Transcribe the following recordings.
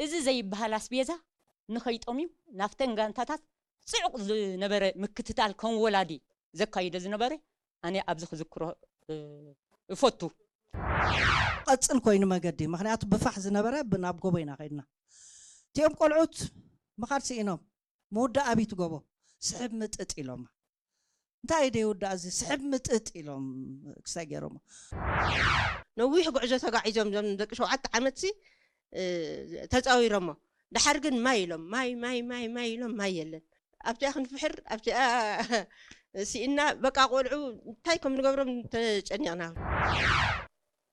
እዚ ዘይበሃል ኣስቤዛ ንኸይጠምዩ ናብተን ጋንታታት ጽዑቕ ዝነበረ ምክትታል ከም ወላዲ ዘካይዶ ዝነበረ ኣነ ኣብዚ ክዝክሮ እፈቱ። ቀጽል ኮይኑ መገዲ ምክንያቱ ብፋሕ ዝነበረ ናብ ጎቦ ኢና ከድና። እቲኦም ቆልዑት ምኻድ ስኢኖም ምውዳእ ኣብይ ትጎቦ ስሕብ ምጥጥ ኢሎማ። እንታይ ደይ ውዳእ እዚ ስሕብ ምጥጥ ኢሎም ክሳይ ገይሮሞ። ነዊሕ ጉዕዞ ተጋዒዞም ዞም ደቂ ሸውዓተ ዓመት ሲ ተፃዊሮሞ። ድሓር ግን ማይ ኢሎም ማይ ማይ ማይ ማይ ኢሎም ማይ የለን። ኣብቲኣ ክንፍሕር ኣብቲኣ ስኢና በቃ ቆልዑ እንታይ ከም ንገብሮም ተጨኒቕና።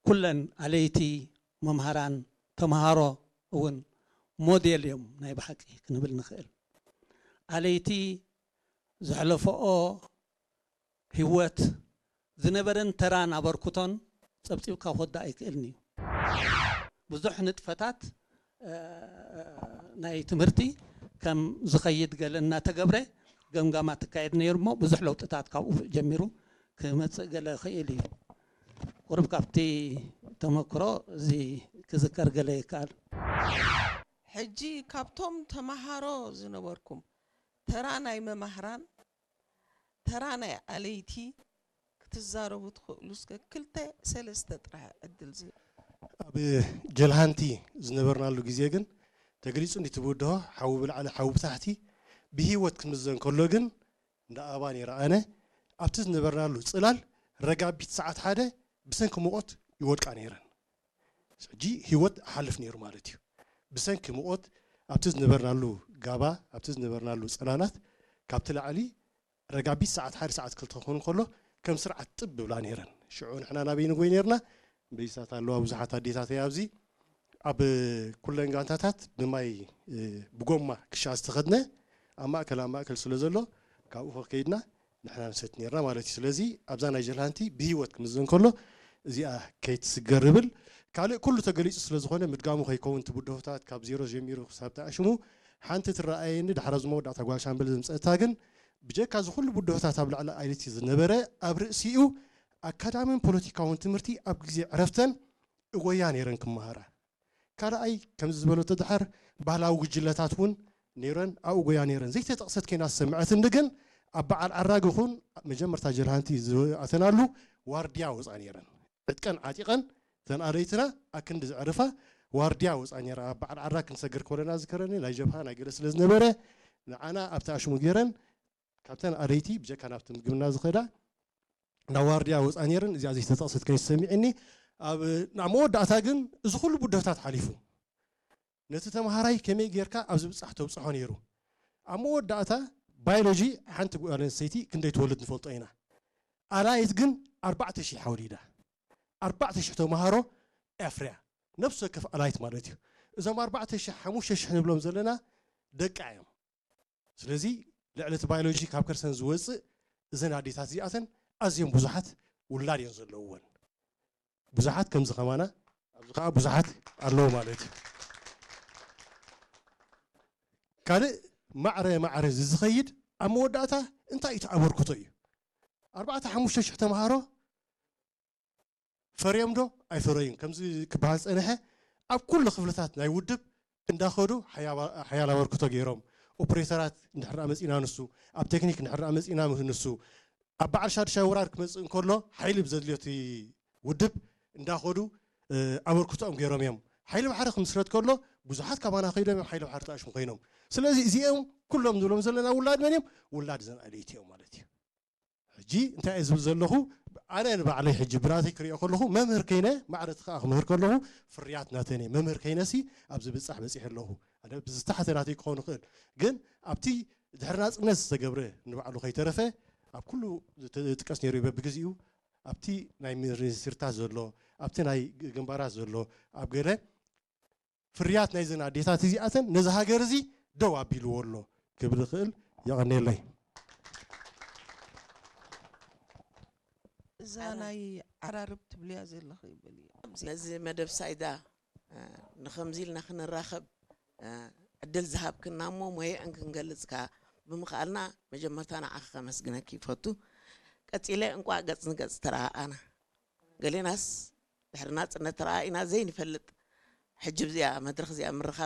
ኩለን ኣለይቲ፣ መምሃራን፣ ተምሃሮ እውን ሞዴል እዮም ናይ ብሓቂ ክንብል ንኽእል። ኣለይቲ ዘሕለፈኦ ህይወት ዝነበረን ተራን ኣበርክቶን ጸብጺብካ ክወዳእ ኣይክእልን እዩ። ብዙሕ ንጥፈታት ናይ ትምህርቲ ከም ዝኸይድ ገለ እናተገብረ ገምጋማት ትካየድ ነይሩ እሞ ብዙሕ ለውጥታት ካብኡ ጀሚሩ ክመፅእ ገለ ይኽእል እዩ። ቁሩብ ካብቲ ተመክሮ እዚ ክዝከር ገለ ይከኣል። ሕጂ ካብቶም ተመሃሮ ዝነበርኩም ተራ ናይ መማህራን ተራ ናይ ኣለይቲ ክትዛረቡ ትኽእሉ እስከ ክልተ ሰለስተ ጥራሕ ዕድል ዝህብ። ኣብ ጀልሃንቲ ዝነበርናሉ ግዜ ግን ተገሊጹ እንዲ ትብድሆ ሓዊ ብላዕሊ ሓዊ ብታሕቲ ብህይወት ክምዘን ከሎ ግን እንዳ ኣበባ ነይረ ኣነ ኣብቲ ዝነበርናሉ ጽላል ረጋቢት ሰዓት ሓደ ብሰንኪ ሙቐት ይወድቃ ነይረን። ሕጂ ህይወት ኣሓልፍ ነይሩ ማለት እዩ። ብሰንኪ ሙቐት ኣብቲ ዝነበርናሉ ጋባ ኣብቲ ዝነበርናሉ ጽላላት ካብቲ ላዕሊ ረጋቢት ሰዓት ሓደ ሰዓት ክልተ ክኸውን ከሎ ከም ስርዓት ጥብ ብብላ ነይረን። ሽዑ ንሕና ናበይ ንጎይ ነይርና? በይሳት ኣለዋ ብዙሓት ኣዴታት እያ ኣብዚ ኣብ ኩለን ጋንታታት ብማይ ብጎማ ክሻ ዝተኸድነ ኣብ ማእከል ኣብ ማእከል ስለ ዘሎ ካብኡ ከይድና ንሕና ንሰቲ ነርና ማለት እዩ። ስለዚ ኣብዛ ናይ ጀልሃንቲ ብህይወት ክምዘን ከሎ እዚኣ ከይትስገር ይብል። ካልእ ኩሉ ተገሊጹ ስለ ዝኾነ ምድጋሙ ከይከውን እቲ ብድሆታት ካብ ዜሮ ጀሚሩ ክሳብ ተኣሽሙ ሓንቲ ትረኣየኒ ድሓር ኣብዚ መወዳእታ ጓል ሻምበል ዘምጸእታ ግን ብጀካ እዚ ኩሉ ብድሆታት ኣብ ልዕሊ ኣለይቲ ዝነበረ ኣብ ርእሲኡ ኣካዳምን ፖለቲካውን ትምህርቲ ኣብ ግዜ ዕረፍተን እጎያ ነይረን ክመሃራ። ካልኣይ ከምዚ ዝበለቶ ድሓር ባህላዊ ጉጅለታት እውን ነይረን ኣብኡ ጎያ ነይረን ዘይተጠቕሰት ከይና ዝሰምዐትኒ ግን ኣብ በዓል ዓራግ ይኹን መጀመርታ ጀልሃንቲ ዝኣተናሉ ዋርድያ ወፃ ነይረን ዕጥቀን ዓጢቐን እተን ኣለይትና ኣክንዲ ዘዕርፋ ዋርድያ ወፃ ነይራ ኣብ በዓል ዓራግ ክንሰግር ከለና ዝከረኒ ናይ ጀብሃ ናይ ገለ ስለ ዝነበረ ንዓና ኣብቲ ኣሽሙ ገይረን ካብተን ኣለይቲ ብጀካ ናብቲ ምግብና ዝኸዳ ናብ ዋርድያ ወፃ ነይረን እዚኣ ዘይተጠቕሰት ከይሰሚዕኒ ኣብ ናብ መወዳእታ ግን እዚ ኩሉ ብድሆታት ሓሊፉ ነቲ ተምሃራይ ከመይ ጌርካ ኣብ ዝብፃሕ ተብፅሖ ነይሩ ኣብ መወዳእታ ባዮሎጂ ሓንቲ ጓል ኣንስተይቲ ክንደይ ትወልድ ንፈልጦ ኢና ኣላይት ግን ኣርባዕተ ሺሕ ኣውሊዳ ኣርባዕተ ሺሕ ተምሃሮ ኣፍርያ ነፍሲ ወከፍ ኣላይት ማለት እዩ እዞም ኣርባዕተ ሺሕ ሓሙሽተ ሺሕ ንብሎም ዘለና ደቃ እዮም ስለዚ ልዕሊ እቲ ባዮሎጂ ካብ ከርሰን ዝወፅእ እዘን ኣዴታት እዚኣተን ኣዝዮም ብዙሓት ውላድ እዮም ዘለውወን ብዙሓት ከምዚ ከማና ኣብዚ ከዓ ብዙሓት ኣለዉ ማለት እዩ ካልእ ማዕረ ማዕረ እዚ ዝኸይድ ኣብ መወዳእታ እንታይ እዩ ተኣበርክቶ እዩ ኣርባዕተ ሓሙሽተ ሽሕ ተምሃሮ ፈርዮም ዶ ኣይፈረዩን ከምዚ ክበሃል ዝፀንሐ ኣብ ኩሉ ክፍልታት ናይ ውድብ እንዳኸዱ ሓያል ኣበርክቶ ገይሮም ኦፕሬተራት እንድሕር መፂና ንሱ ኣብ ቴክኒክ እንድሕር መፂና ንሱ ኣብ በዓል ሻድሻይ ወራር ክመፅእ እንከሎ ሓይሊ ብዘድልዮ እቲ ውድብ እንዳኸዱ ኣበርክቶኦም ገይሮም እዮም ሓይሊ ባሕሪ ክምስረት ከሎ ብዙሓት ካባና ከይዶም እዮም ሓይሊ ባሕሪ ተኣሽሙ ኮይኖም ስለዚ እዚኦም ኩሎም ንብሎም ዘለና ውላድ መን እዮም ውላድ ዘን ኣለይቲ እዮም ማለት እዩ ሕጂ እንታይ እየ ዝብል ዘለኹ ኣነ ንባዕለይ ሕጂ ብራተይ ክሪኦ ከለኹ መምህር ከይነ ማዕረ እቲ ከዓ ክምህር ከለኹ ፍርያት ናተን እየ መምህር ከይነሲ ኣብዚ ብፃሕ በፂሐ ኣለኹ ኣነ ብዝተሓተ ናተይ ክኸውን ይኽእል ግን ኣብቲ ድሕሪ ናፅነት ዝተገብረ ንባዕሉ ከይተረፈ ኣብ ኩሉ ዝጥቀስ ነይሩ በብግዜኡ ኣብቲ ናይ ሚኒስትርታት ዘሎ ኣብቲ ናይ ግንባራት ዘሎ ኣብ ገለ ፍርያት ናይዘን ኣዴታት እዚኣተን ነዚ ሃገር እዚ ደው ኣቢልዎ ኣሎ ክብል ይኽእል። የቐንየለይ። እዛ ናይ ዓራርብ ትብልያ ዘለኺ በሊ። ነዚ መደብ ሳይዳ ንኸምዚ ኢልና ክንራኸብ ዕድል ዝሃብክና እሞ ሞየአን ክንገልጽ ከኣ ብምኽኣልና መጀመርታ ንዓኺ ከመስግነኪ ይፈቱ። ቀጺለ እንቋዕ ገጽ ንገጽ ተረኣኣና። ገሌናስ ድሕሪ ናጽነት ተረኣኢና ዘይንፈልጥ ሕጂ ብዚኣ መድረኽ እዚኣ ምርኻብ